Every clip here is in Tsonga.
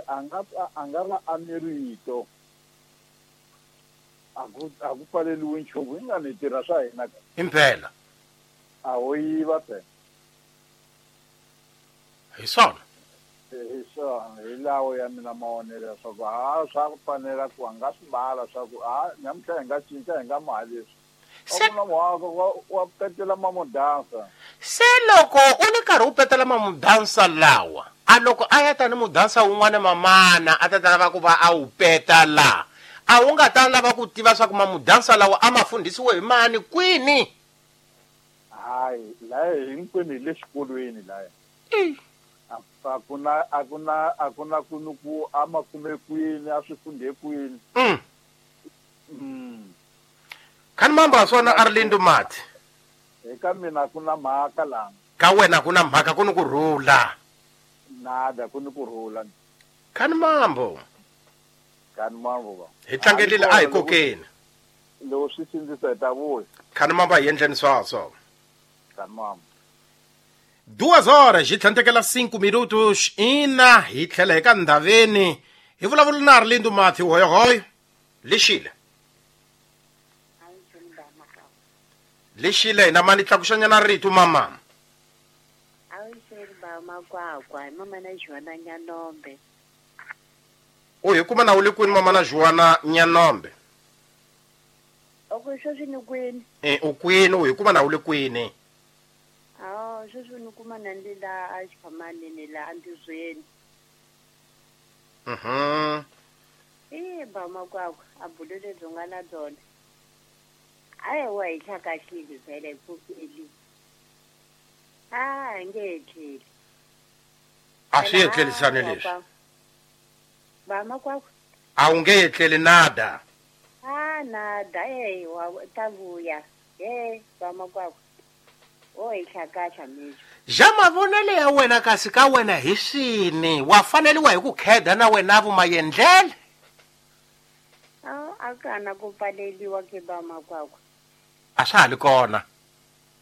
A nga va a ni rito. A ku pfaleliwi nchumu, hi nga ni tirha swa hina ka. Impela. A ho yiva phela. Hi swona. Hi swona, hi lawo ya mina mavonelo leswaku ha swa ku fanela ku a nga swi mbala swa ku ha namuntlha hi nga cinca hi nga maha leswi. Wa petela mamudansa. Se loko u ni karhi u petela mamudansa lawa, a loko a ya tani mudansa wun'wana mamana a ta lava ku va a wu peta la, a wu nga ta lava ku tiva swa ku mamudansa lawa a ma fundhisiwe hi mani kwini? Hayi, laya hinkwenu hi le xikolweni laya. A ku na ku a ma kume kwini, a swi fundhe kwini. Khani mamba swona Arlindo Mati. Eka mina ku na mhaka la. Ka wena ku na mhaka, ku ni ku rhula. Nada, ku ni ku rhula. Khani mambo. Khani mambo ba. Hi tlangelile a hi kokeni. Loko swi sindzisa hi ta vuya. Khani mambo hi endleni swaswo. Khani mambo. 2 horas hi tlhandlekela 5 minutos ina hi tlhela hi ka ndhaveni hi vulavula na Arlindo Mati hoyohoyo. Lexile. Lexile hina mani tlakuxanyana rito mama. Awuxeni ba makwakwa hi mama na Joana Nyanombe. U hi kuma na u le kwini mama na Joana Nyanombe? Oko sweswi ni kwini? U kwini, u hi kuma na u le kwini? Awu sweswi ni kuma na ndi la a xiphamanini la andizweni. Ba makwakwa a bulo lebyi nga na byona. Ayi wa hi hlakahlile vhele hi pfukeli. A nge etleli. A swi etlelisani leswi. Ba makwakwa. A wu nge etleli nada. A nada, wa ta vuya. Ba makwakwa. O hi hlakahla mixo. Ja mavonelo ya wena kasi ka wena hi swini? Wa faneliwa hi ku kheda na wena vumayendlele? A kana ku pfaleliwa ke ba makwakwa. A swa ha li kona.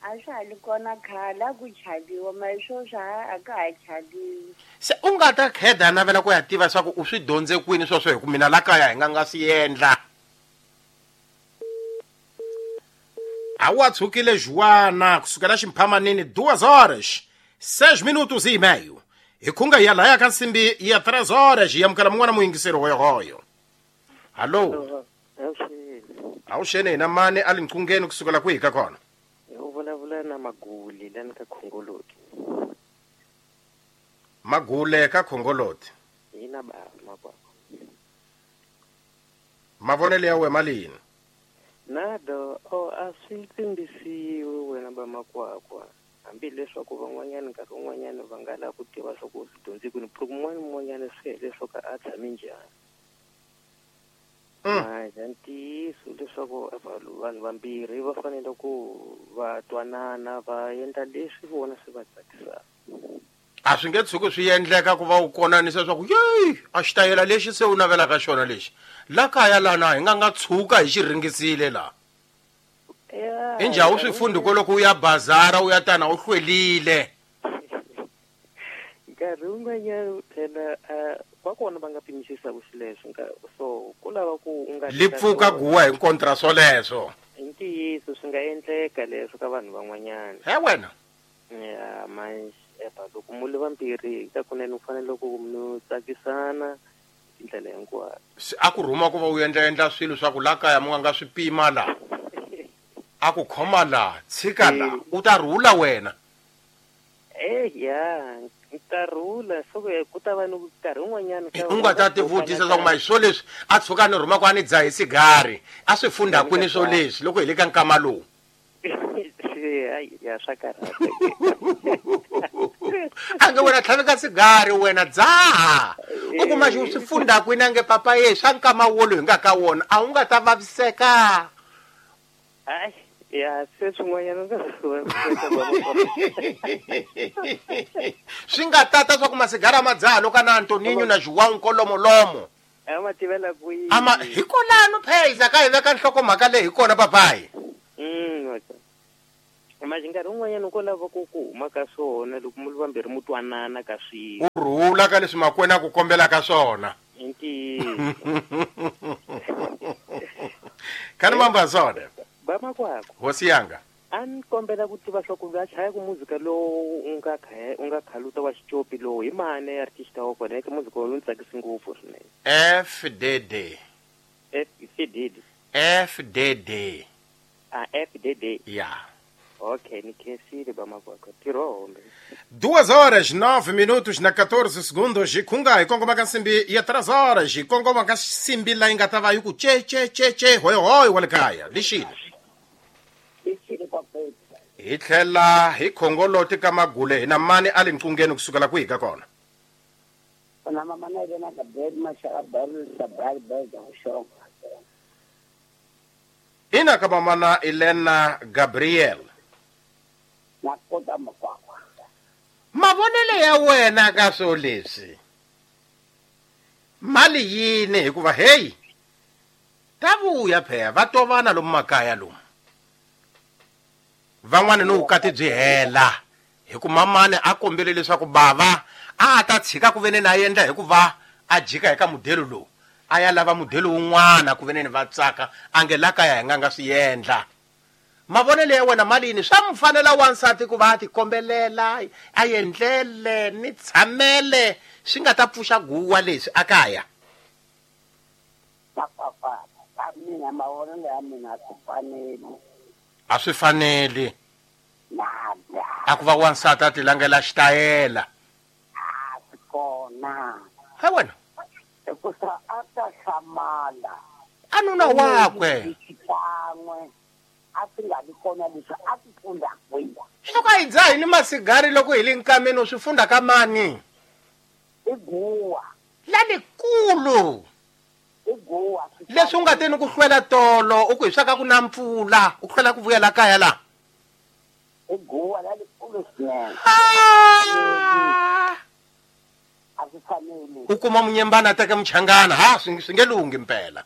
A swa ha li kona khale a ku chaviwa, mara sweswi a ka ha chaviwi. Se u nga ta kheda navela ku ya tiva swa ku u swi dyondze kwini sweswo hi ku mina la kaya hi nga nga swi endla. A wa tshukile Joana kusukela ximphamanini 2 horas 6 minutos e meio. Hi khunga ya laya ka nsimbi ya 3 horas hi amukela mun'wana muyingiseri hoyohoyo. Hallo. Awuxeni hina mani a linqungeni kusukela kwihi ka kona? U vulavula na Magule lani ka Khongoloti. Magule ka Khongoloti. Hina ba makwakwa. Mavonelo ya wena malini? Nado a swi tsimbisiwi wena ba makwakwa. Hambileswaku van'wanyana nkarhi wun'wanyana va nga lava ku tiva swa ku swi dyondze kwini, ku un'wana swi hileswaku a tshame njhani. Manje ntiyiso leswaku vanhu vambirhi va fanele ku va twanana va endla leswi vona swi va tsakisaka. A swi nge tshuki swi endleka ku va u konanisa swa ku yeyi a xitayela lexi se u navelaka xona lexi la kaya lana hi nga nga tshuka hi xi ringisile la. I njhani u swi fundhi ko loko u ya bazara u ya tana u hlwelile? Nkarhi wun'wanyana phela va kona va nga pimisisaka xileswo so ku lava ku u nga li pfuka guwa hi kontra swoleswo. I ntiyiso swi nga endleka leswo ka vanhu van'wanyana. He wena. Ya manje loko mu le vambirhi ka kunene u fanele ku mi tsakisana tindlela hinkwato. A ku rhuma ku va u endla swilo swa ku la kaya mu nga swi pima la. A ku khoma la, tshika la, u ta rhula wena. Ya ta rhula so ku ta va ni nkarhi wun'wanyana u nga ta tivutisa swa ku manje swo leswi a tshuka ni rhuma ku a ni dzahi sigari a swi fundha kwini swo leswi loko hi le ka nkama lowu. Ya swa karhata. A nge wena tlhaveka sigari wena dzaha. U kuma xi swi fundha kwini a nge papa ye swa nkama wolowu hi nga ka wona a wu nga ta vaviseka. Hayi ya se swin'wanyana swi nga tata swa ku masigara ma dzaha loko na Antoninho na João Nkolomolomo. A ma tivela kwihi? Ama hi kolano pheza ka hi veka nhlokomhaka leyi hi kona papayi. Manje nkarhi wun'wanyana ko lava ku huma ka swona loko mu vambirhi mu twanana ka swilo. U rhula ka leswi makwena ku kombela ka swona. I ntiyiso. Khani mamba swona. Ba makwakwa. Hosi yanga. A ni kombela ku tiva swa ku va chaya ku muzika lowu u nga khaluta wa xicopi lowu hi mani artist wa kona eka muzika lowu ni tsakisi ngopfu swinene. FDD. FDD. FDD. A FDD. Yeah. Ok, ni khensile ba makwakwa. Tirhombe. 2:09 na 14 segundos. Khunga hi kongoma ka nsimbi ya 3 horas. Hi kongoma ka nsimbi la yi nga ta va yi ku che che che che hoy hoy wa le kaya. Lixile. Hi tlhela hi khongoloti ka magule hi na mani a le nqungeni kusukela kwihi ka kona. Na mama na yena ka bed mashaka barul sabal bed ushonga. Ina ka mama na Elena Gabriel. Na kota makwakwa. Mavonelo ya wena ka swo leswi. Mali yini hikuva hey ta vuya phela va tovana lomu makaya lomu. Van'wana no vukati byi hela hi ku mamani a kombele leswaku bava a ta tshika ku vene na endla hikuva a jika eka mudelo lowu a ya lava mudelo wun'wana ku veneni va tsaka a nge la kaya hi nga nga swi endla. Mavonelo ya wena mali yini swa mfanela wansati ku va a tikombelela a endlele ni tshamele swi nga ta pfuxa guwa leswi a kaya. Papa mina mavonelo ya mina ku fanele. A swi faneli. A ku va wansati a ti langela xitayela. A swi kona. He wena. Hikusa a ta hlamala. A nuna wakwe. Xikan'we a swi nga vi kona leswi a ti funda kwihi. Swa ku a hi dzahi ni masigari loko hi le nkameni u swi funda ka mani? I guwa. Lalikulu. I guwa. Leswi u nga teni ku hlwela tolo u ku hi swa ka ku na mpfula u hlwela ku vuyela kaya la. I guwa lalikulu swinene. A swi faneli. U kuma munyembana a teka muchangana ha swi nge lunghi mpela.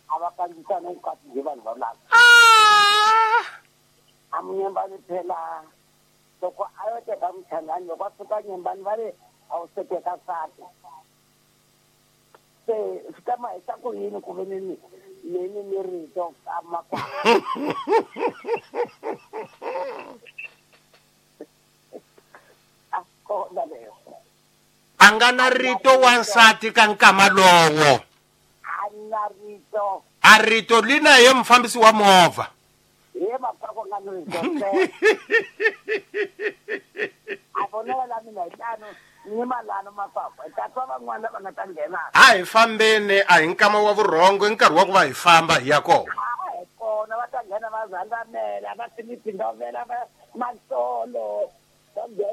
A va kandzisana vukati byi vanhu va lava. A munyembani phela loko a yo teka muchangani loko a fika nyembani va ri a wu se teka nsati. Se swi ta ma hisa ku yini ku ve ni ni rito ka makwakwa. A kona leswo. A nga na rito wansati ka nkama lowo. A na rito. A rito lina ye mufambisi wa movha. Ye makwakwa nga ni rito. A vonela la mina hi tano ni malano makwakwa. Ta twa van'wana lava nga ta nghena. A hi fambeni a hi nkama wa vurhongo i nkarhi wa ku va hi famba hi ya kona. A hi kona va ta nghena va zandamela va timipindovela va matsolo.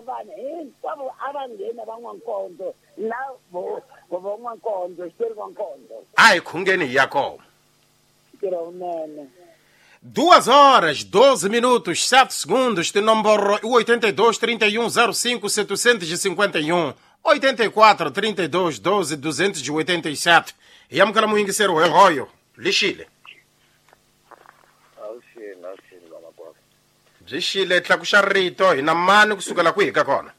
Vanhu hinkwavo a va nghena va n'wankondzo na vo n'wankondzo xitori n'wankondzo. A hi khungeni hi ya kona. Ntirho wunene. 2:12:07 tinomboro i 82 31 05 751 84 32 12 287. Hi amukela muyingiseri hoyo lixile. Awuxini vamakwakwa. Byi xile tlakuxa rito hi na mani kusukela kwihi ka kona?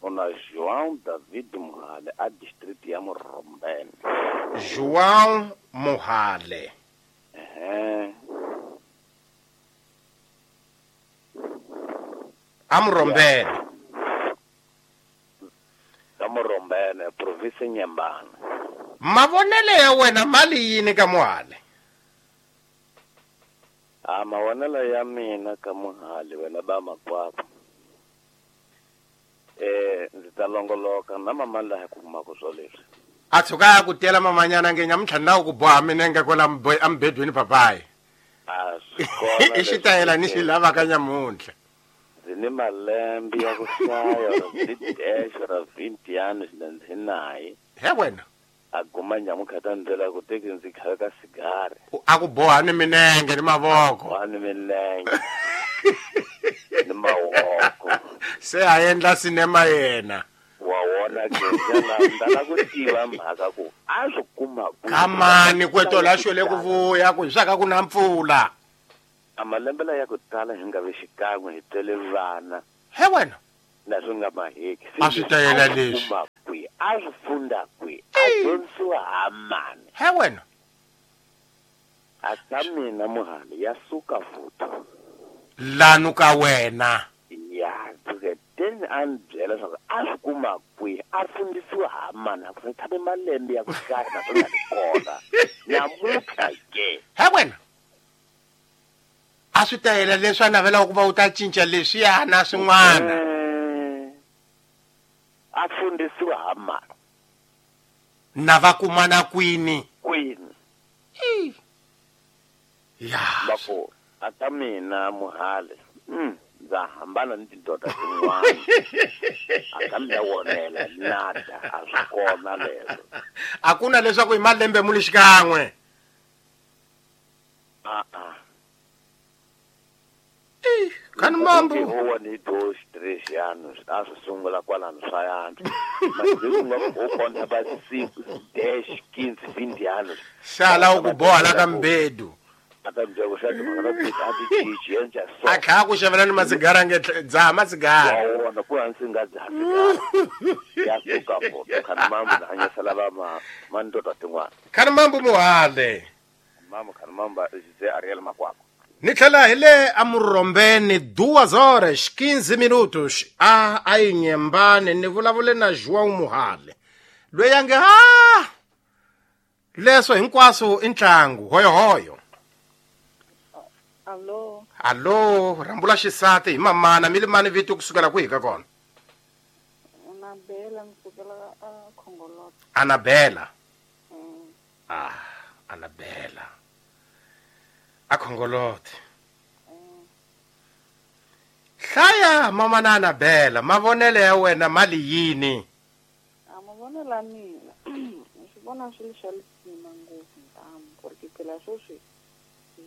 Una João David Muhale a district ya Murombene. João Muhale. A Murombene. Ka Murombene province Nyembana. Mavonelo ya wena mali yini ka Muhale? A mavonelo ya mina ka Muhale wena ba makwakwa. Ndzi ta longoloka na mama laha ku kumaka swo leswi. A tshuka ya ku tela mamanyana nge nyamuntlha na ku boha minenge kwala emubedweni papayi. A swi kona. I xitayela ni xi lavaka nyamuntlha. Ndzi ni malembe ya ku hlaya ra dash ra 20 anos na ndzi naye. He wena. A guma nyamuntlha ta ndlela ku teki ndzi khale ka sigari. A ku boha ni minenge ni mavoko. Boha ni minenge. Ni mavoko. Se a endla sinema yena. Wa wona ke ndala ku tiva mhaka ku a swi kuma ku. Kamani kweto la xwele ku vuya ku swa ka ku na mpfula. A malembe la ya ku tala hi nga vi xikan'we hi tele vana. He wena. Na swi nga maheki. A swi ta yela leswi. Kuma kwi, a swi funda kwi, a dyondzisiwa ha mani. He wena. A ka mina muhali ya suka futhi. Lanu ka wena. Ya, ke teni a ni byela leswaku a swi kuma kwihi, a fundisiwa ha mani, a ku tshame malembe ya ku hlaya na swi nga ri kona. Namuntlha ke. He wena. A swi ta yela leswi a navelaka ku va u ta cinca leswiya na swin'wana. A fundisiwa ha mani. Na va kumana kwini? Kwini. Ya. Va ku a ka mina muhali. Ndza hambana ni tindoda tin'wana. A ka mina wonela nada, a swi kona leswo. A ku na leswaku hi malembe mu li xikan'we. A-a. Khani mambo. Huwa ni 2 3 anos, a swi sungula kwalano swa yantswa. Masiku nga ku kona ba 5 10 15 20 anos. Sala u ku boha la ka mbedu. A ta byela ku xa timhaka ta ku a ti cinci endla so. A kha ku xavela ni masigara nge dzaha masigara. Wa wona ku hansi nga dzaha sigara. Ya suka foto khani mambo na hanyisela va ma mandoda tin'wana. Khani mambo muhale. Mambo khani mambo Jose Ariel Makwakwa. Ni tlhela hi le amurhombeni 2:15 minutos a a yi nyembani ni vulavule na João Muhale loyi a nge ha leswo hinkwaswo i ntlangu hoyohoyo. Allo. Allo, rambula xisati hi mamana mi limani vito kusukela kwihi ka kona? Anabela kusukela a Khongolot. Anabela. Ah, Anabela. A Khongolot. Hlaya mamana Anabela, mavonelo ya wena mali yini? A mavonelo ya mina swi vona swi ri swa lisima ngopfu ntamu ku ri phela sweswi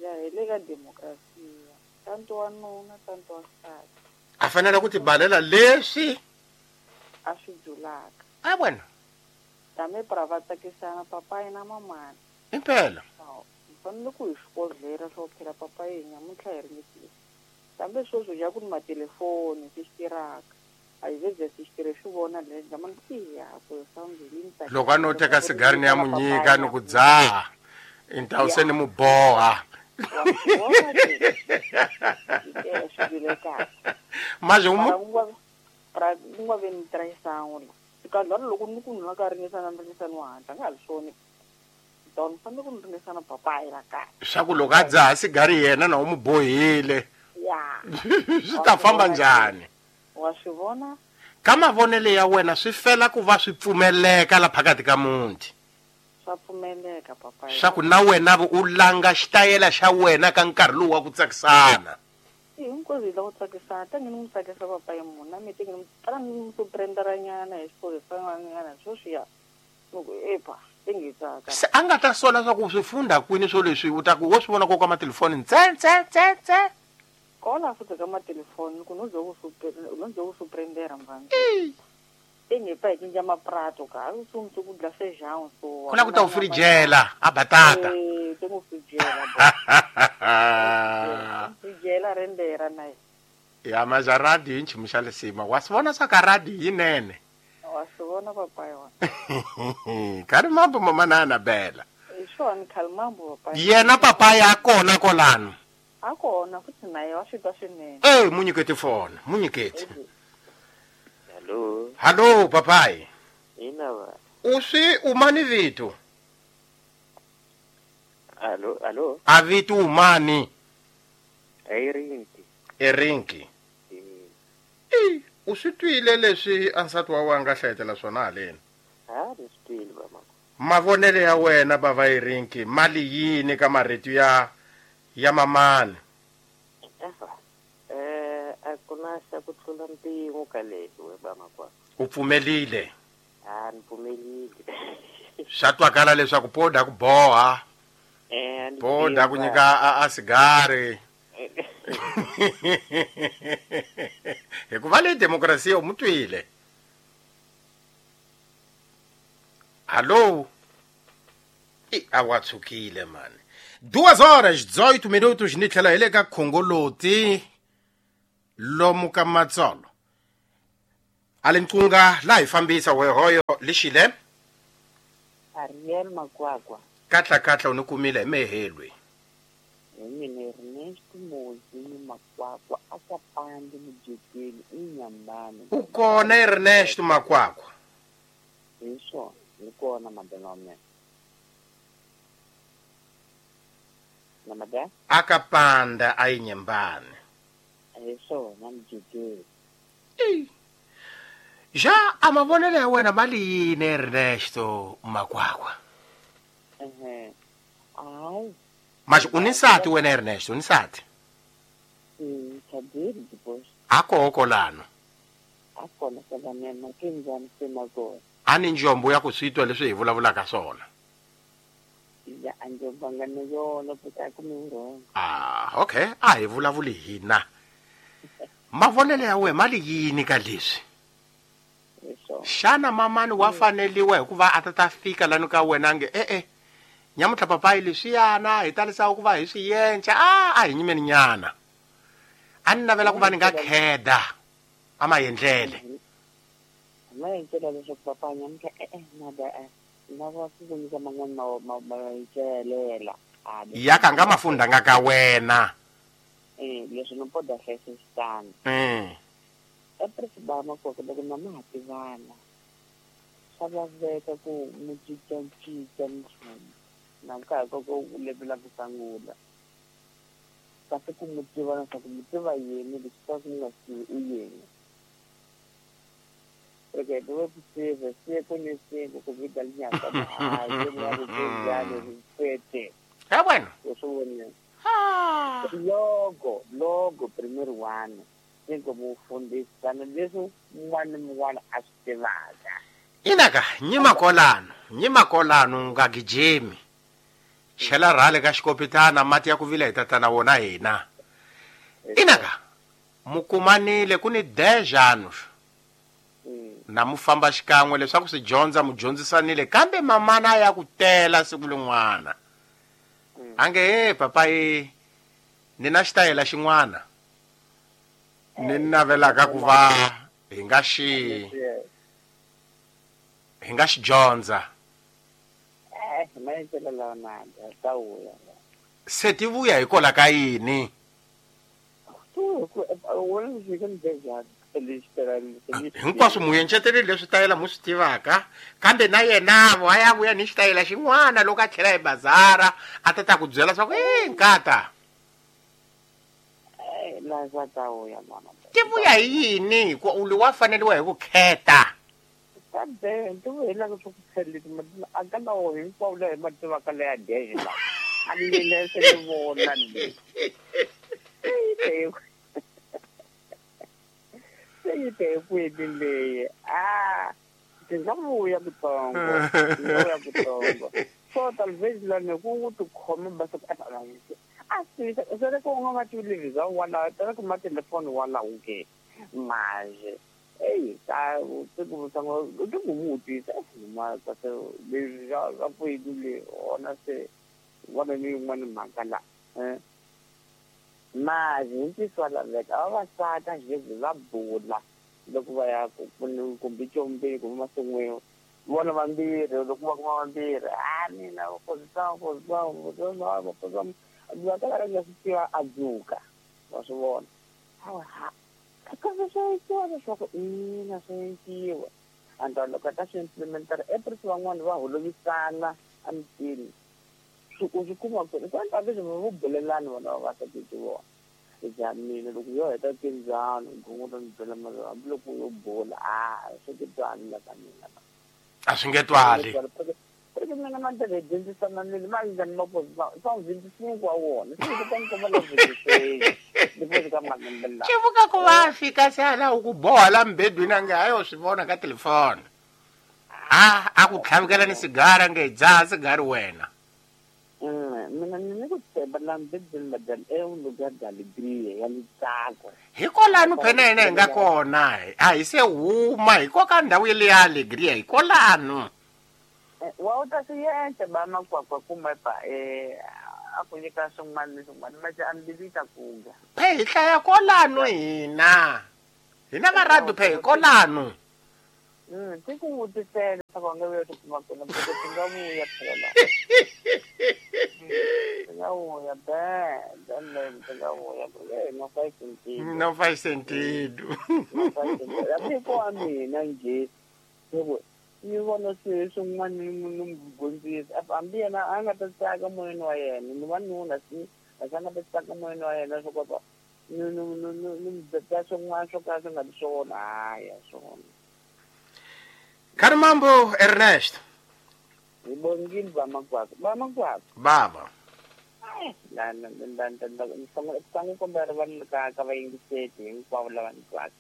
ya hi le ka demokrasiya tanto wa nuna tanto wa nsati a fanele ku tibalela leswi a swi byulaka. A wena tame pra va tsakisana papayi na mamana impela hi fanele ku hi swikodlela swo phela papayi nyamuntlha hi ringetile kambe sweswi ya ku ni matelefoni swi tirhaka a hi ze swi tirhe swi vona le mani siya ku sambili loko a no teka sigari ni ya mu nyika ni ku dzaha então se ni mu boha. Mas pra unga ve ni traição la ka loko ni ku nwa ka ringisana ringisana wa hatla nga ha swona don fanele ku ringisana papayi la ka swa ku loko a dzaha sigari yena na u mu bohile ya swi ta famba njhani? Wa swi vona ka mavonelo ya wena swi fela ku va swi pfumeleka la phakathi ka muti. Swa pfumeleka papayi swa ku na wena u langa xitayela xa wena ka nkarhi lowu wa ku tsakisana. Hinkwaswo hi lava ku tsakisana tangi ni n'wi tsakisa papayi munhu na mi teki ni tala ni n'wi suprenderanyana hi xiphorisa sweswiya ni ku epa tingi tsaka. Se a nga ta sola swa ku swi funda kwini swo leswi u ta ku wo swi vona ko ka matelefoni ntse ntse ntse ntse kola futhi ka matelefoni ku no zo ku suprendera mvana tingi pa hi cinca maprato ka u sungula ku dla feijão so ku la ku ta u frijela a batata tingu frijela frijela rendera na ya maja radio hi nchumu xa lisima wa swi vona swa ka radio yinene wa swi vona papayi wa khani mambo mama na Anabela hi swona khali mambo papayi yena papayi a kona kolano a kona futhi naye wa swi twa swinene. Mu nyiketi fona mu nyiketi. Hello. Hello papayi. Ina va. U swi umani vito? Allo, allo. A vito umani? Erinki. Erinki. U swi twile leswi a nsati wa wena a nga hlayetela swona haleni? Ha, ni swi twile baba. Mavonelo ya wena bava Erinki mali yini ka marito ya mamani? A ku na xa ku tlula mpimo ka leswi we bamakwakwa. U pfumelile? A ni pfumelile. Swa twakala leswaku poda ku boha. Poda ku nyika a sigari. Hikuva le demokrasiya u mu twile. Hallo. I a wa tshukile mani. 2 horas 18 minutos ni tlhela hi le ka khongoloti lomu ka matsolo. Ale nqunga la hi fambisa wehoyo lixile. Ariel Makwakwa. Katla katla u ni kumile hi mehelwe. Hi mina Ernesto Mozi Makwakwa a ka pandi mujekeni inyambani. U kona Ernesto Makwakwa. Hi swona, ni kona madana wa mina. Na madana? Aka panda a inyambani. Hi swona mujekeni. Ja a mavonelo ya wena mali yini Ernesto Makwakwa? Hayi. Mas u ni nsati wena Ernesto, u ni nsati? Tshadiri depois. A koho kolano. A kona fela mina ke njhani se na kona. A ni njombo ya ku swi twa leswi hi vulavulaka swona. Ya a njombo nga ni yona ku ta ku mi wrong. Ah, okay, a hi vulavuli hina. Mavonelo ya wena mali yini ka leswi? Xana mamani wa faneliwa hikuva a ta fika lani ka wena nge nyamutlha papayi leswiyana hi talisa ku va hi swi yenca a hi nyimeni nyana. A ni navela ku va ni nga kheda a maendlele. Maendlele leswaku papa nyamutlha nada na va ku nyika man'wana maendlela. Ya ka nga mafundanga ka wena. Leswi no poda hlayisa xitandi. Epresi ba Makwakwa loko na ma ha tivana swa laveka ku mu cincacinca nchumu na nkarhi ka ku levela ku sungula kasi ku mu tiva leswaku mu tiva yini leswi swa ku nga swi i yini. Porque dove possível se conhecer ku vida linyaka hayi nga ri njhani ri fete. Ya bueno. Logo primeiro ano cinco mufundisana leswi un'wana ni un'wana a swi tivaka. Inaka nyima kolano nga gijimi. Chela rhale ka xikopitana mati ya ku vila hi tatana wona hina. Inaka mukumanile ku ni 10 anos. Na mu famba xikan'we leswaku swi dyondza mu dyondzisanile kambe mamana ya ku tela siku lin'wana. Ange papayi ni na xitayela xin'wana. Ni navelaka ku va hi nga xi dyondza. Se ti vuya hikola ka yini? Hinkwaswo mu encetele leswi tayela mu swi tivaka kambe na yena wa ya vuya ni xitayela xin'wana loko a tlhela hi bazara a ta ku byela swa ku nkata. Ti vuya hi yini hikuva u wa faneliwa hi ku kheta. Kambe ti vuya ku kheleti a ka lawo hinkwawo laha hi ma tivaka leya deje la. A ni le se ni vona ni. Se yi te kwini leyi. Ti nga vuya kutsongo. So talvez la ni ku tikhoma ba se a será que unga matiliza wala tala ku matelefoni wala uke manje ei ta ku sango ku mutisa ma ta se le ja ra puidule ona se wana ni un'wana mhaka la manje ntiswa laveka vavasati a xi va bula loko va ya kumbe combeni kumbe masin'wini vona vambirhi loko va kuma vambirhi a mina va kala nga swi tiva a dzuka wa swi vona kambe swa endliwa leswaku ina swa endliwa and loko a ta swi implementara eprisi van'wani va holovisana emitini u swi kuma ku ri kwani leswi vo bulelani vona vavasati ti vona ja mina loko yo heta tindzano gongo ni byela mara hambiloko yo bula a swi ti twali la ka mina a swi nge twali. Porque mina mandlela dyondzisana ni ma njhani maposa swa 25 wa wona se ku ta ni la 26 depois ka malembe la xivuka ku va fika se ala ku boha la mbedwini a nge hayo swi vona ka telefoni a ku tlhavikela ni sigara nge dzaha sigari wena. Mina ni ku tshemba la mbedwini madala é um lugar de alegria ya ntsako. Hikolano phena hina hi nga kona a hi se huma hiko ka ndhawu ya alegria hikolano. Wa u ta swi endla ba makwakwa kumbe pa a ku nyika swin'wana ni swin'wana manje a mbilu yi ta kuga. Phe hi hlaya kolano hina. Hina va radio phe hi kolano. Ti ku vutisela leswaku a nga vuya ti kuma kona porque ti nga vuya phela la. Ti nga vuya ti nga vuya no faz sentido. Não faz sentido. Não faz sentido. Hambi ko wa mina njhe ni vona swilo swin'wana ni n'wi dyondzisa hambi yena a nga ta tsaka moyeni wa yena ni wanuna si a nga ta tsaka moyeni wa yena swo kota ni ni swin'wana swo ka swi nga ri swona hayi swona. Karimambo Ernest. Hi bongile ba makwakwa. Baba. La la la la kombela vanhu ka ka vayingiseti hinkwavo lava ni twaka.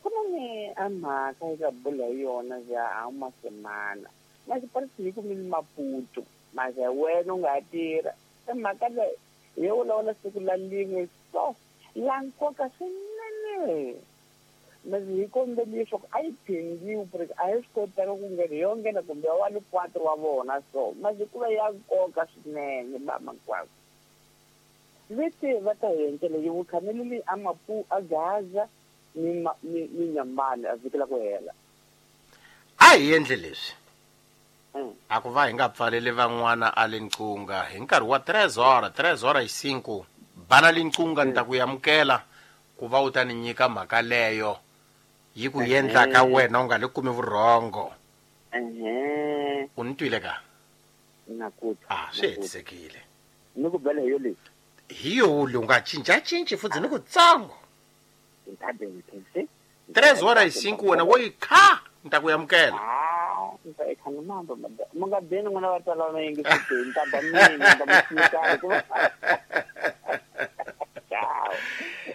Ku na ni a mhaka eka bula hi yona ya a masemana. Masipalisi ku mi Maputo. Mase wena u nga tirha. Mhaka leyi hi vulavula siku la lin'we so la nkoka swinene. Mase hi kombela leswaku a yi phindiwi porque a hi swi kotaka ku nghena yo nghena kumbe wa le 4 wa vona so mase ku va ya nkoka swinene ba makwakwa. Vete va ta endlela yi vukhameleli a Mapu a Gaza ni Nyamani a vhiki la ku hela. A hi endle leswi. A ku va hi nga pfaleli van'wana a le nqunga hi nkarhi wa 3 horas 3:05 bana le nqunga ni ta ku amukela ku va u ta ni nyika mhaka leyo yi ku endla ka wena u nga le kumi vurhongo. U ni twile ka? Na ku twa. Swi hetisekile. Ni ku bela hi yo leyi. Hi yo u nga cincacinci futhi ni ku tsongo. 3:05 wena wo yi kha ni ta ku amukela.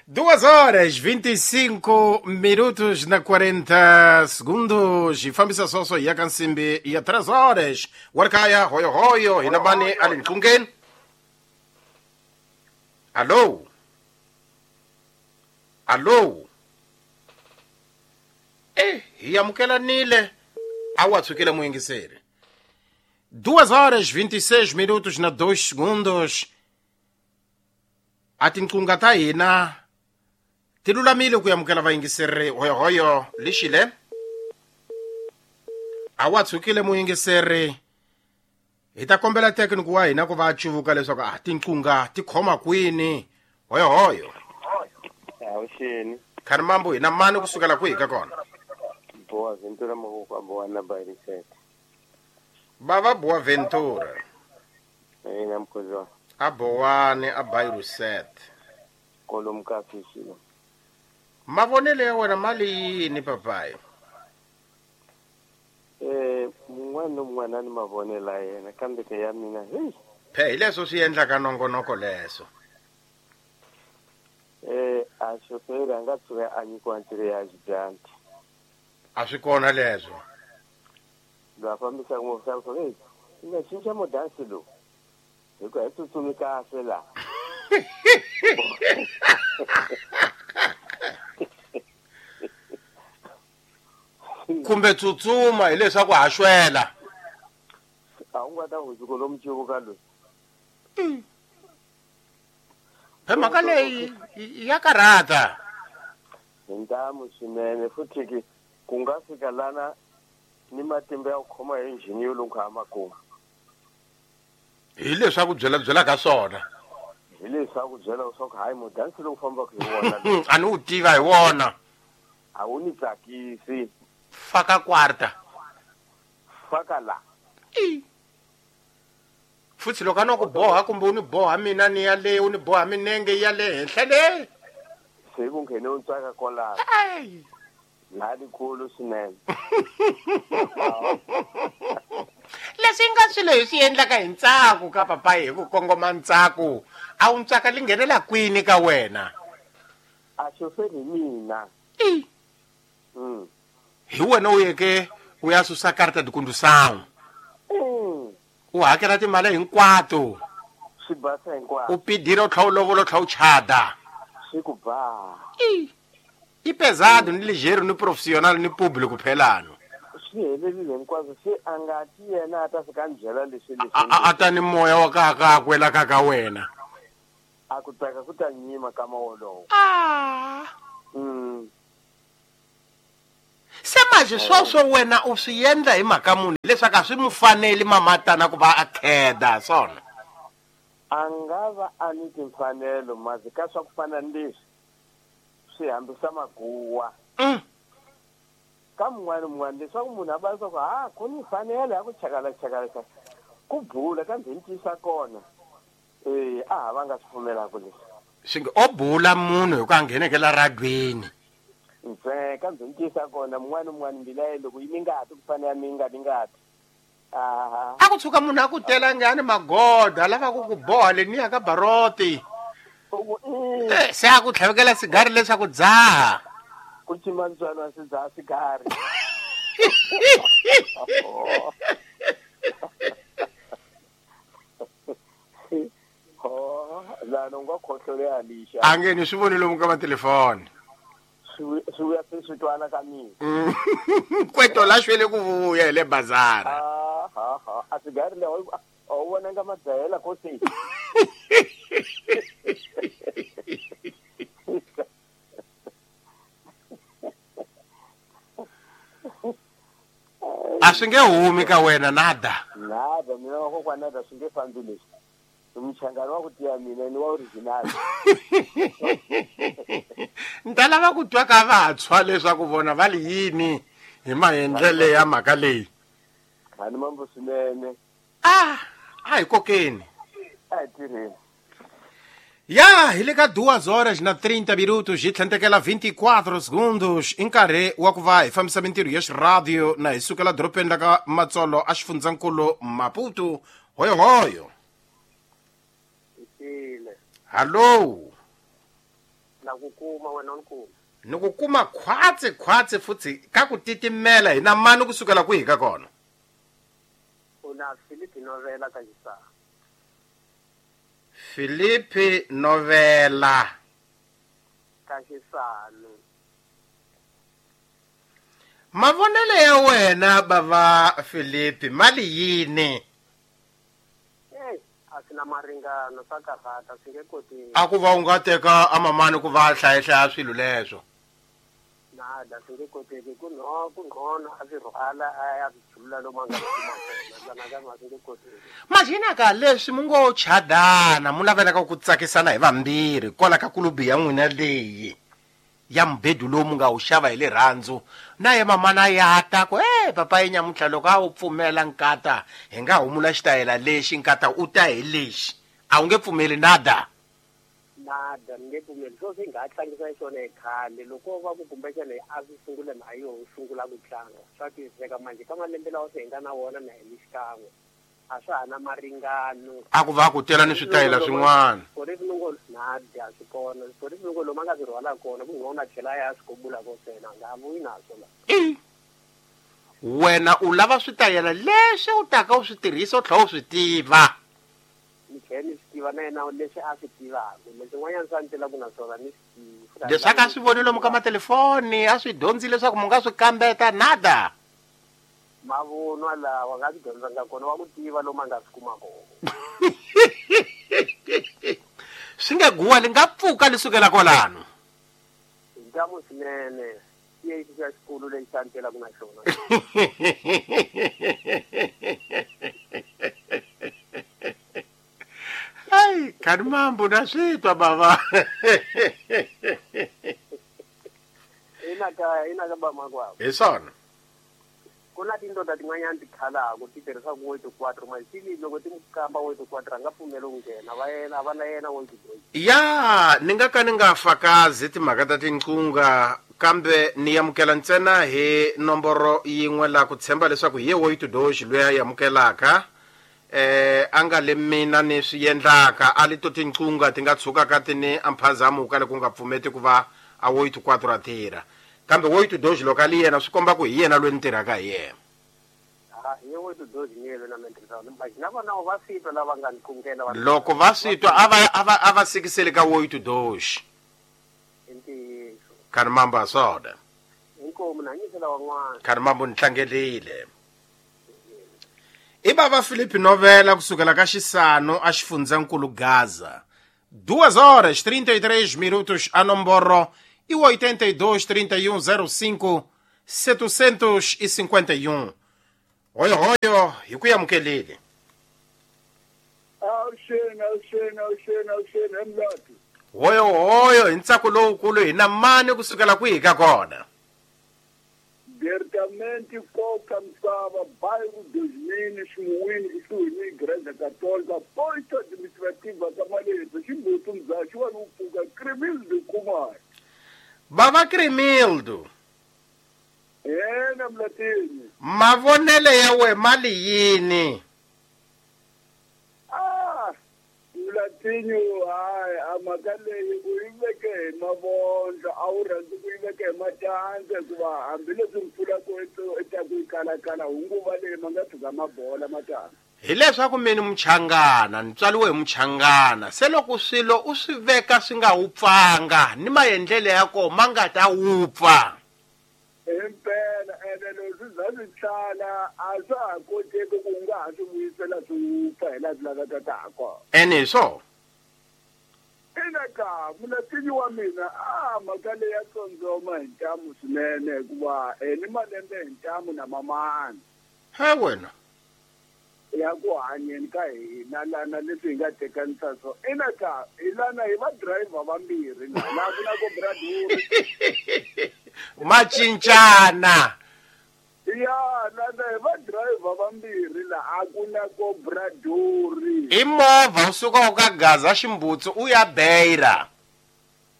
Duas horas, 25 minutos na 40 segundos. E fambisa soso ya kansimbi ya 3 horas. Warkaya, hoyo hoyo, inabani alinqungen. Alô? Alô? Yamukela nile. Awatsukile muyingiseri. 2 horas, 26 minutos na 2 segundos. Atinqunga ta hina ti lulamile ku yamukela vayingiseri hoyohoyo lixile. Awatsukile muyingiseri. Hi ta kombela tekniki wa hina ku va a cuvuka leswaku a tinqunga ti khoma kwini hoyohoyo. Awuxeni. Kharimambo hina mani kusukela kwihi ka kona? Boa Ventura Mavoko Boa na Bairisete. Bava Boa Ventura. Ina mkhozo. Abowane a Bairisete. Kolomka fishilo. Mavonelo ya wena mali yini papayi? Mun'wana na mun'wana ni mavonelo ya yena kambe ke ya mina hey. Phe hi leswo swi endlaka nongonoko leswo. A xoferi a nga tshuka a nyikiwa ntirho ya xidyambu. A swi kona leswo. Loyi a fambisaka movha swa hey, i nga cinca modansi lowu. Hikuva hi tsutsumi kahle laha. Kumbe tsutsuma hileswaku ha xwela. A wu nga ta hundzuka lomu cuvuka loyi. Phe mhaka leyi ya karhata. Hi ntamu swinene futhi ke ku nga fika lana ni matimba ya ku khoma hi injhini yo lungha makumu. Hi leswaku byela ka swona. Hi leswaku byela leswaku hayi mudansi lowu fambaka hi wona. A ni wu tiva hi wona. A wu ni tsakisi. Faka quarta. Faka la. Futhi loko a no ku boha kumbe u ni boha mina ni ya le u ni boha minenge ya le henhla le. Se ku nghene u ntsaka kwalaho. Laha likulu swinene. Leswi nga swilo hi swi endlaka hi ntsako ka papayi hi ku kongoma ntsako. A wu ntsaka li nghenela kwini ka wena? A xoferi hi mina. Hi wena u yeke u ya susa karta de condução. U hakela timali hinkwato. Swi basa hinkwaswo. U pidira u tlha u lovola u tlha u chada. Swi ku ba. I pesado ni ligeiro ni profissional ni público phelano. Swi helelile hinkwaswo se a nga ti yena a ta fika ni byela leswi leswi. A ta ni moya wa ka kakwe la ka ka wena. A ku tsaka ku ta nyima kama wolowo. Se manje sweswo wena u swi endla hi mhaka munhu leswaku a swi mu faneli mamatana ku va a kheda swona. A nga va a ni timfanelo mazi ka swa ku fana ni leswi swi hambisa maguwa. Ka mun'wana mun'wana leswaku munhu a va leswaku ha ku ni mfanelo ya ku chakala chakala chakala ku bula kambe ni tiyisa kona a ha va nga swi pfumelaka leswi. Swi nge o bula munhu hi ku a ngheneke la radweni. Ntsena kambe ni tiyisa kona mun'wana mun'wana mbila ya loko yi ni ngati ku fana ya mi nga ni ngati. A ku tshuka munhu a ku tela ngani magoda lava ku ku boha le ni ya ka baroti. Se a ku tlhavekela sigari leswaku dzaha. Ku cima ntswalo wa swi dzaha sigari. Lana u nga khohlole ya lixa. A nge ni swi voni lomu ka matelefoni. Swi vuya se swi twana ka mina. Kweto la xwele ku vuya hi le bazara. A sigari leyi a wu vonanga madzahela ko se. A swi nge humi ka wena nada. Nada mina wa kokwana nada swi nge fambi leswi. Muchangano wa ku tiya mina ni wa original. Ni ta lava ku twa ka vantshwa leswaku vona va li yini hi maendlele ya mhaka leyi. Hani mambo swinene. A hi kokeni. A hi tirheni. Ya hi le ka 2:30 minutos hi tlhentekela 24 segundos i nkarhi wa ku va hi fambisa mintirho ya xiradio na hi sukela doropeni la ka Matsolo a xifundzankulu Maputo. Hoyohoyo. Hallo. Na ku kuma wena ni kuma. Ni ku kuma khwatsi khwatsi futhi ka ku titimela hi na mani kusukela kwihi ka kona? Una Philip Novela ka Xisana. Philip Novela ka Xisana. Mavonelo ya wena bava Philip mali yini? A swi na maringano swa karhata swi nge koteki. A ku va u nga teka amamani ku va hlayahlaya swilo leswo. Nada swi nge koteki ku ngcono a swi rhwala a ya swi chulula lomu a nga swi kuma kona nakambe a swi nge koteki. Majina ka leswi mu ngo chadana mu navelaka ku tsakisana hi vambirhi kwala ka kulubi ya n'wina leyi ya mubedu lowu mu nga wu xava hi rirhandzu na ye mamana ya ta ku papa yi nyamuntlha loko a wu pfumela nkata hi nga humula xitayela lexi nkata u ta hi lexi a wu nge pfumeli nada. Nada ni nge pfumeli swo swi nga tlangisa xona hi khale loko va ku kumbexana a swi sungule na yo sungula ku tlanga swa twisiseka manje ka malembe lawa swi hi nga na wona na hi xikan'we a swa ha na maringano. A ku va ku tela ni switayela swin'wana. Swiporisi nada swi kona swiporisi loko lomu a nga swi rhwala kona ku nghona tlhela ya swi kobula ko sena a nga vuyi naswo la. Wena u lava switayela leswi u taka u swi tirhisa u tlhela u swi tiva. Ni tlhela ni swi tiva na yena leswi a swi tivaka leswin'wanyana swa ni telaka na swona ni swi tivi. Leswaku a swi voni lomu ka matelefoni a swi dyondzi leswaku mu nga swi kambeta nada. Mavunwa lawa nga swi dyondzanga kona wa ku tiva lomu a nga swi kuma kona. Swi nge guwa li nga pfuka li sukela kwalano. Hi ntamu swinene i xa xikulu lexi xa ni telaka na xona. Ai, kani mambo na swi twa bava. Ina ka ba makwavo. Hi swona. Ku na tindoda tin'wanyana ti khalaka ti tirhisaka oito quatro manje loko ti kamba oito quatro a nga pfumeli ku nghena va yena va na yena oito dois. Ya ni nga ka ni nga fakazi timhaka ta tinqunga kambe ni amukela ntsena hi nomboro yin'we la ku tshemba leswaku hi ye oito dois loyi a amukelaka a nga le mina ni swi endlaka a li to tinqunga ti nga tshukaka ti ni amphazamo ka le ku nga pfumeti ku va a oito quatro a tirha. Kambe oito dois loko a li yena swi komba ku hi yena loyi ni tirhaka hi yena. Hi oito dois ni yena na mina tirhaka. Na vona va swi twa lava nga ni qungela va. Loko va swi twa a va sikiseli ka oito dois. I ntiyiso. Kani mamba swona. I Inkomu na hanyisela van'wana. Khani mambo ni tlangelile. I bava Filipe Novela kusukela ka Xisano a xifundzankulu Gaza. 2 horas 33 minutos a nomboro e 82 31 05 751. Hoyo hoyo hi ku amukelile. Awuxeni awuxeni awuxeni awuxeni emlati. Hoyo hoyo hi ntsako lowukulu hi na mani kusukela kwihi ka kona. Diretamente koka misava bairro 2000 ximuwini kusuhi ni Igreja Católica posto administrativa ka Maleza ximbutu mzaxi wa pfuka Cremildo Kumar. Bava Cremildo. Yena mlatini. Mavonele ya we mali yini? Mlatinyo hayi amhaka leyi u yi veke hi mavondlo a wu rhandzi ku yi veka hi matandza hikuva hambileswi mpfula ku etaku yi kalakala hunguva leyi ma nga tshuka mabola matandza. Hileswaku mini muchangana ni tswariwe hi muchangana se loko swilo u swi veka swi nga wupfanga ni maendlelo ya kona ma nga ta wupfa. Impela ene loko swi za swi tlala a swa ha koteki ku u nga ha swi vuyisela swi wupfa hi laha swi lavekaka ha kona. Ene hi swona. Ina ka mulatinyi wa mina a mhaka leyi ya tsondzoma hi ntamu swinene hikuva ni malembe hi ntamu na mamani. He wena. Ya ku hanyeni ka hina lana leswi hi nga tekanisa swo. Ina ka hi lana hi va driver vambirhi laha ku na ko braduri. Macincana. Ya lana hi va driver vambirhi laha ku na ko braduri. I movha u suka u ka Gaza Ximbutsu u ya Beira.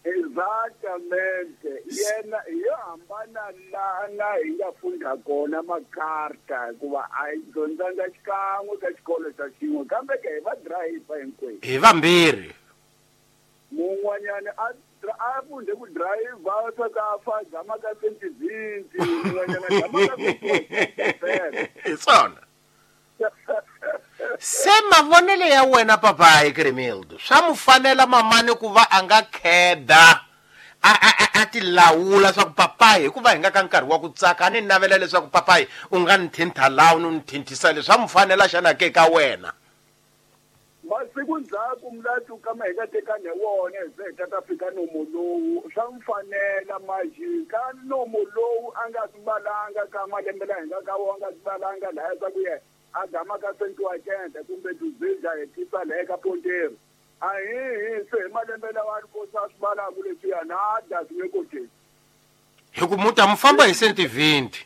Exactamente. Yena yo hambana lana hi nga funda kona makarta hikuva a hi dyondzanga xikan'we ka xikolo xa xin'we kambe ke hi va driver hinkwenu. Hi vambirhi. Mun'wanyana a funde ku driver swa ka fa gama ka 2020 mun'wanyana gama ka 20. Hi swona. Se mavonelo ya wena papayi Cremildo swa mu fanela mamani ku va a nga kheda a ti lawula swa ku papayi hikuva hi nga ka nkarhi wa ku tsaka a ni navela leswaku papayi u nga ni thintha laha u ni thinthisa leswi swa mu fanela xana ke ka wena. Masiku ndzhaku mlati kama hi nga tekani hi wona hi ze hi ta fika nomo lowu swa mu fanela maji ka nomo lowu a nga swi valanga ka malembe laha hi nga ka wona a nga swi valanga lahaya swa ku yena a gama ka 180 kumbe tuzidla hi tisa laha ka Pontero. A hi se hi malembe lawa a ri kosa swi valaku leswiya nada swi nge koteki. Hi ku muta mu famba hi 120.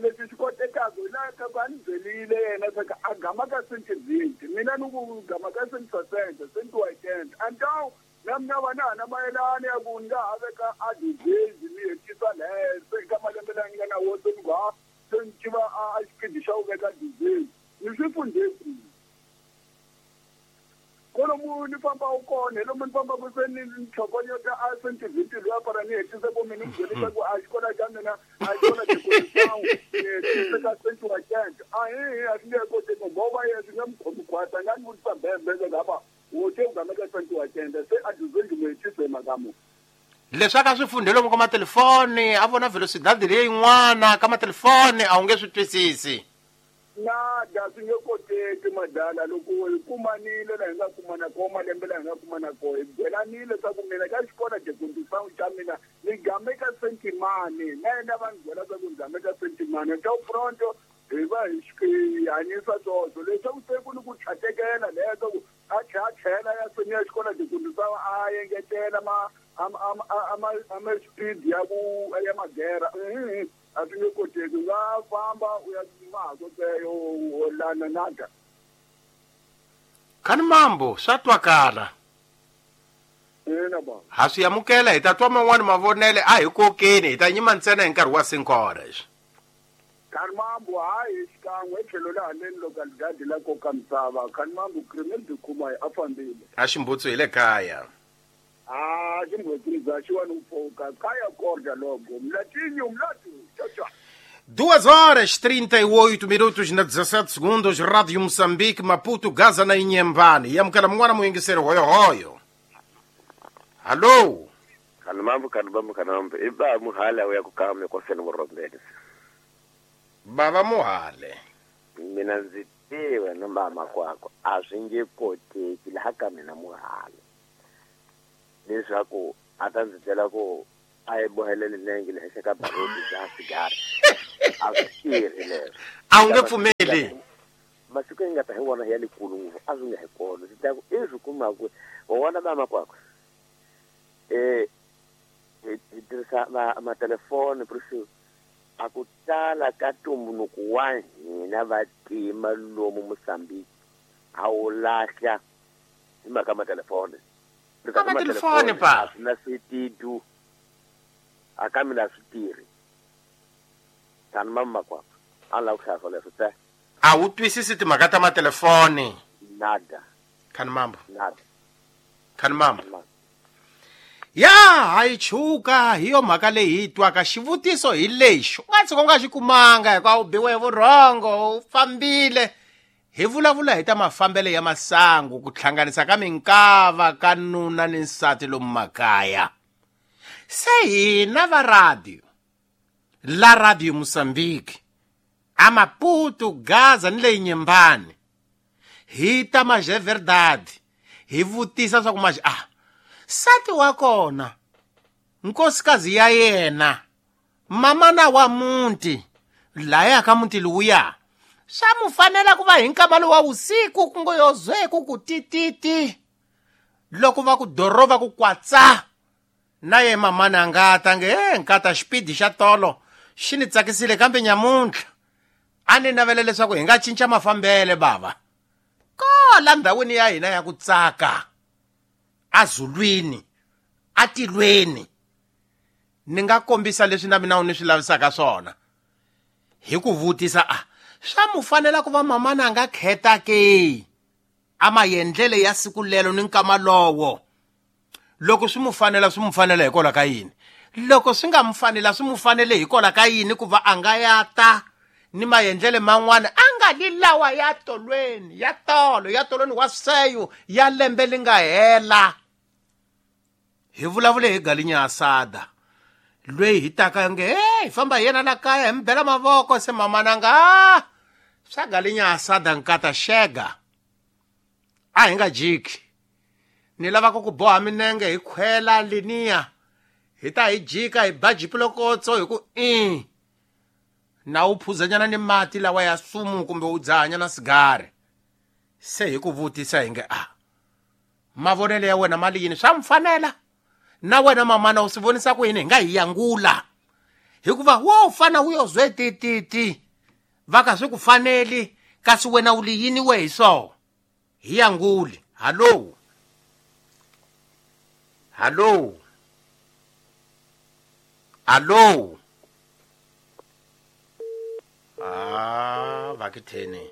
Leswi swi kotekaka hi laha ka ku a ni byelile yena swa ku a gama ka 120 mina ni ku gama ka 160 180 antawu na mina va na ha na mayelana ya ku ni nga ha veka a dizezi ni hetisa laha se ka malembe laha ni nga na wo se ni ku ha se ni tiva a xipidi xa ku veka dizezi ni swi fundhe kwihi. Kolomu ni famba u kona hi lomu ni fambaka se ni tlhokonyota a 120 luya para ni hetise ku mina ni byelisa ku a xikolo xa mina a xikolo xikolosangu ni hetise ka 180 a hi a swi nge koteki ngoba yena swi nge mu khomi khwata nga ni vutisa bembele ngaba wo te u game ka 180 se a dizezi mu hetise hi mhaka mu. Leswi a swi fundhe lomu ka matelefoni a vona velocidade leyin'wana ka matelefoni a wu nge swi twisisi. Nada swi nge koteki madala loko hi kumanile laha hi nga kumana kona malembe laha hi nga kumana kona hi byelanile swa ku mina ka xikolo xikundisano xa mina ni game ka sentimani na yena va ni byela swa ku ni game ka sentimani ta pronto hi va hi hanyisa swoswo leswaku se ku ni ku tlhatekela leswaku a tlhela ya senior xikolo xikundisano a engetela ma ama speed ya ku ya magera a swi nge koteki u nga famba u ya mahakoteyo lana nada. Khani mambo swa twakala. Ina ba. Ha swi amukela hi ta twa man'wani mavonele a hi kokeni hi ta nyima ntsena hi nkarhi wa 5 horas. Khani mambo hayi xikan'we tlhelo la haleni localidade la koka misava khani mambo Cremildo Khumai a fambile. A ximbutsu hi le kaya. Ah, ximbutsumza xiwani u pfuka kaya korda logo mlatinyo mlatu tchau. 2 horas 38 minutos na 17 segundos, Rádio Moçambique, Maputo, Gaza na Inhambane. Yamukela mun'wana muyingiseri hoyo hoyo. Alô? Kanamambu kanamambu kanamambu iba muhale uya kukame kwa sena morombele. Baba muhale. Mina ndzi tiva na mama kwakho a swi nge koteki laha ka mina muhale. Leswaku a ta ndzi byela ku a yi bohelele nenge le henhla ka baroti bya sigara. A swi tirhi leswo. A wu nge pfumeli. Masiku yi nga ta hi wona ya lekulu ngopfu a swi nga hi kona. Ndzi ta ku i swi kumaku wa vona mama kwakho. Hi tirhisa matelefoni por a ku tala ka ntumbuluko wa hina vatima lomu Mozambique a wu lahla hi mhaka matelefoni. Ka matelefoni pa na switidu a ka mina swi tirhi. Tani mama kwakho a lava ku hlaya swoleswo te. A wu twisisi timhaka ta matelefoni. Nada. Khanimambo. Nada. Khanimambo. Ya hayi chuka hi yo mhaka leyi hi twaka xivutiso hi lexi u nga tshuka u nga xi kumanga hikuva u biwe hi vurhongo u fambile. Hi vulavula hi ta mafambelo ya masangu ku hlanganisa ka minkava ka nuna ni nsati lomu makaya. Se hina va radio la Radio Mozambique a Maputo, Gaza ni leyi Nyembani hi ta maje verdade hi vutisa swa ku maje sati wa kona nkosikazi ya yena mamana wa muti laya ka muti luya swa mu fanela ku va hi nkama wa usiku ku ngo yozweku ku tititi loko va ku dorova ku kwatsa na ye mamana nga ta nge nkata xipidi xa tolo xi ni tsakisile kambe nyamuntlha a ni navela leswaku hi nga cinca mafambele bava kola ndhawini ya hina ya ku tsaka azulwini atilweni ni nga kombisa leswi na mina u ni swi lavisaka swona hi ku vutisa swa mu fanela ku va mamana a nga kheta ke a maendlele ya siku lelo ni nkama lowo loko swi mu fanela swi mu fanela hikwalaho ka yini loko swi nga mu fanela swi mu fanele hikwalaho ka yini ku va a nga ya ta ni maendlele man'wana a nga li lawa ya tolweni ya tolo ya tolweni wa seyo ya lembe li nga hela. Hi vulavule hi Galinya Asada lweyi hi taka nge hi famba hi yena la kaya hi mi bela mavoko se mamana nga swa Galinya Asada nkata xega a hi nga jiki ni lavaka ku boha minenge hi khwela liniya hi ta hi jika hi ba jipilokotso hi ku na u phuzanyana ni mati lawa ya sumu kumbe u dzahanyana sigari. Se hi ku vutisa hi nge mavonelo ya wena mali yini swa mfanela na wena mamana u swi vonisa ku yini hi nga hi yangula hikuva wo fana wu yo zwe tititi va ka swi ku faneli kasi wena u li yini we hi swoho hi yanguli. Hallo hallo hallo vakitheni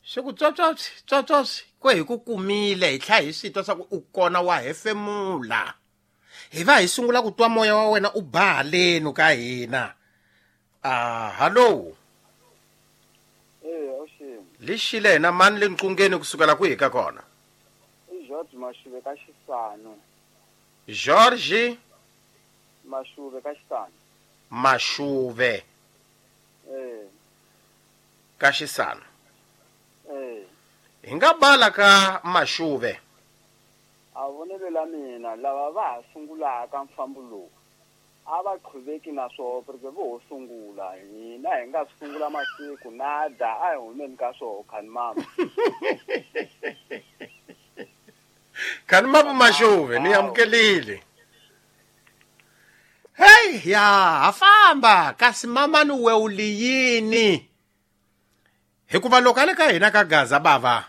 swi ku tswotswotswi tswotswotswi kwe hi ku kumile hi tlha hi swi twa swa ku u kona wa hefemula hi va hi sungula ku twa moya wa wena u ba haleni ka hina. Hallo lexile hina mani le nqungeni kusukela kwihi ka kona? I George Mashuve ka Xisano. George Mashuve ka Xisano. Mashuve ka Xisano. Hi nga bala ka Mashuve. A vonelo la mina lava va ha sungulaka mfambo lowu a va qhuveki na swoho porque vo ho sungula hina hi nga sungula masiku nada a hi humeni ka swoho khanimama. Khanimama Mashuve ni amukelile. Hey ya ha famba kasi mamani we u li yini hikuva loko a le ka hina ka Gaza bava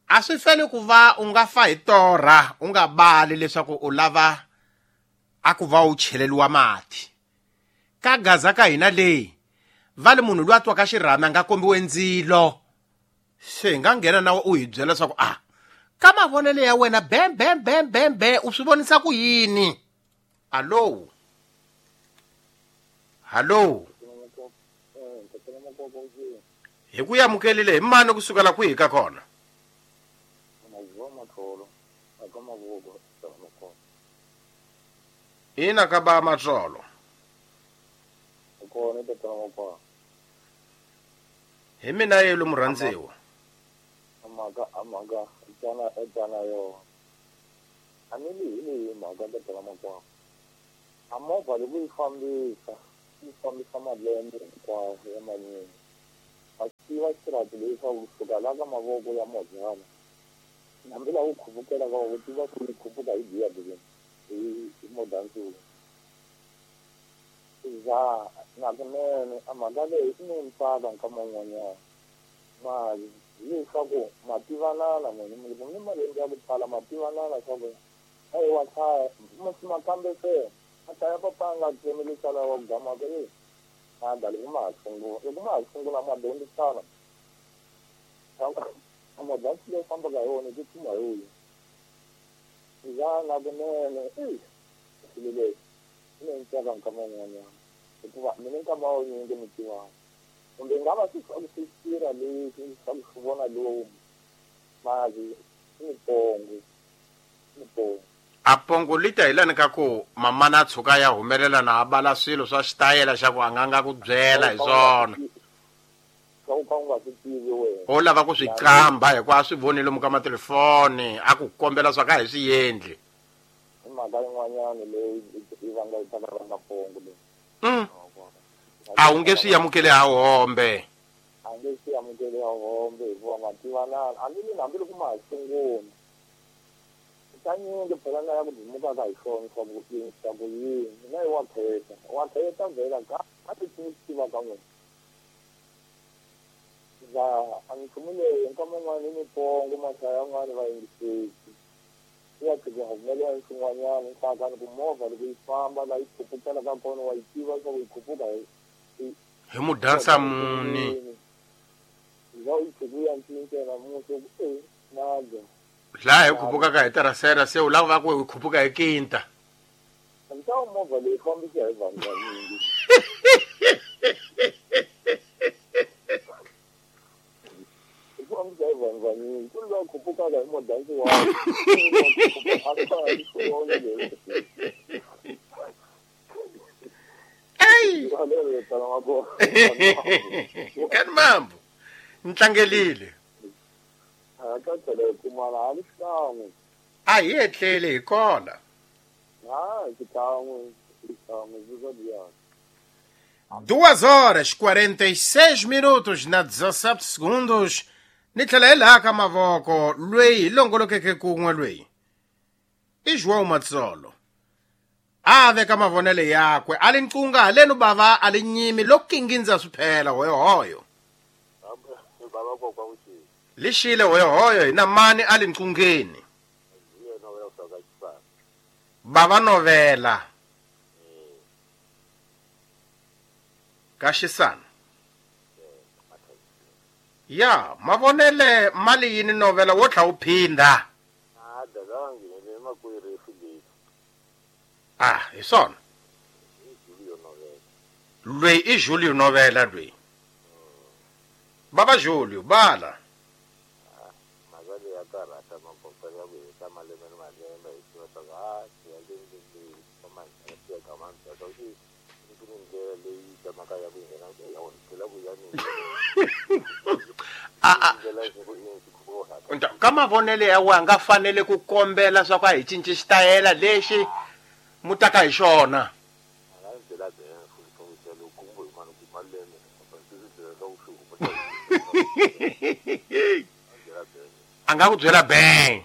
a swi feli ku va u nga fa hi torha u nga bali leswaku u lava a ku va u cheleliwa mati ka Gaza ka hina leyi va le munhu loyi a twaka xirhami a nga kombiwe ndzilo se hi nga nghena nawe u hi byela leswaku ka mavonelo ya wena bem bem bem bem be u swi vonisa ku yini. Allo hallo hi ku amukelile hi mani kusukela kwihi ka kona? Ina ka ba Matsolo. Kona tatana Makwakwa. Hi mina yelo murhandziwa. Amaka tsana yo. A ni li hi mhaka tatana Makwakwa. A movha loko yi fambisa malembe hinkwawo ya manyingi. A tiva xirati leswaku kusuka la ka mavoko ya mozana. Hambi laha u khupukela ka u tiva ku yi khuphuka hi biya hi modansuku. Za na kunene a mhaka leyi i ni ntsaka nkama wun'wanyana. Mali hileswaku ma tivanana munhu loko ni malembe ya ku tala ma tivanana swa ku a hi wa hlaya makambe se a hlaya papa a nga tsemeli sala wa gamaka e nada loko ma ha sungula loko ma ha sungula ma dyondzisana a modansi leyi fambaka hi wona tsutsuma hi wuyo. Za na kunene i swilo leswi i ni ntsaka nkama wun'wanyana hikuva mina nkama wunyingi mi tivana. Kumbe nga va swi swi tirha leswi swa ku swi vona lomu mali i mipongo. A pongo li ta hi lani ka ku mamana a tshuka ya humelela na a bala swilo swa xitayela xa ku a nga ku byela hi swona. Swa ku ka u nga swi tivi wena. O lava ku swi qamba hikuva a swi voni lomu ka matelefoni a ku kombela swa ka hi swi endli. I mhaka yin'wanyana leyi yi vanga yi ta vanga pongo leyi. A wu nge swi amukeli ha hombe. A nge swi amukeli ha hombe hikuva ma tivanana. Hambi loko ma ha sungula. Kanyingi phela na ya ku dimukaka hi swona swa ku yini. Mina i wa kheta. Wa kheta vhela ka a ti tiva ka n'wina. Za a nchumu leyi nkama wun'wana i mipongo mahlaya yan'wana va yingiseki. Ya tshika humelela swin'wanyana nhlakani ku movha loko yi famba laha yi khupukela ka kona wa yi tiva leswaku yi khuphuka hi mudansa muni. Za yi tshuka ya cinca namuntlha ku e nada. Laha hi khupukaka hi terasera se u lava ku hi khuphuka hi kinta. Ntawu movha leyi fambisa hi vanhu vanyingi. Yi fambisa hi vanhu vanyingi. Ku loyi a khupukaka hi modansi wa Kani mambo ntlangelile. A hi etlele hi kona. 2:46 na 17 segundos. Ni tlhela hi laha ka mavoko loyi hi longolokeke kun'we loyi i João Matsolo. A veka mavonelo yakwe a li nqunga halenu bava a li nyimi lo kingindza swi phela hoyohoyo. Lixile hoyohoyo hi na mani a li nqungeni. Bava novela. Ka xisana. Ya mavonele mali yini novela wo tlha wu phinda. Ah, hi swona. Loyi i Julio novela loyi. Baba Julio bala. Ka mavonele ya wena nga fanele ku kombela swa ku a hi cinci xitayela lexi mutaka hi xona. A nga ku byela bang.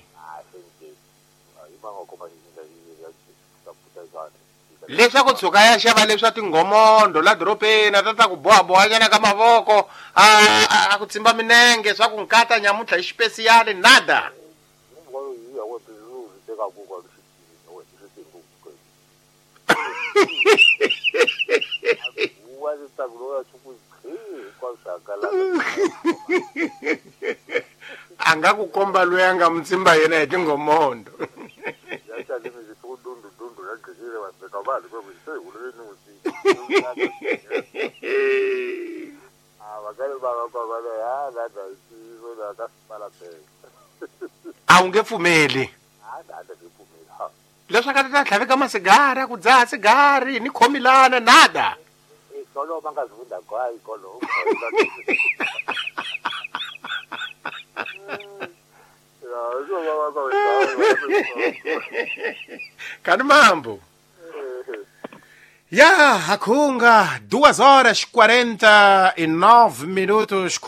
Leswaku tshuka ya xava leswa tinghomondo la doropeni a ta ku bohabohanyana ka mavoko a ku tsimba minenge swa ku nkata nyamuntlha hi xipesiyali nada. A nga ku komba loyi a nga mutsimba yena hi tinghomondo. A wu nge pfumeli. Leswaku a ta tlhaveka masigara ku dzaha sigari ni khomilana nada. Ikolo va nga zivunda gwayi ikolo. Kani mambo. Ya, hakhunga 2 horas 49 minutos.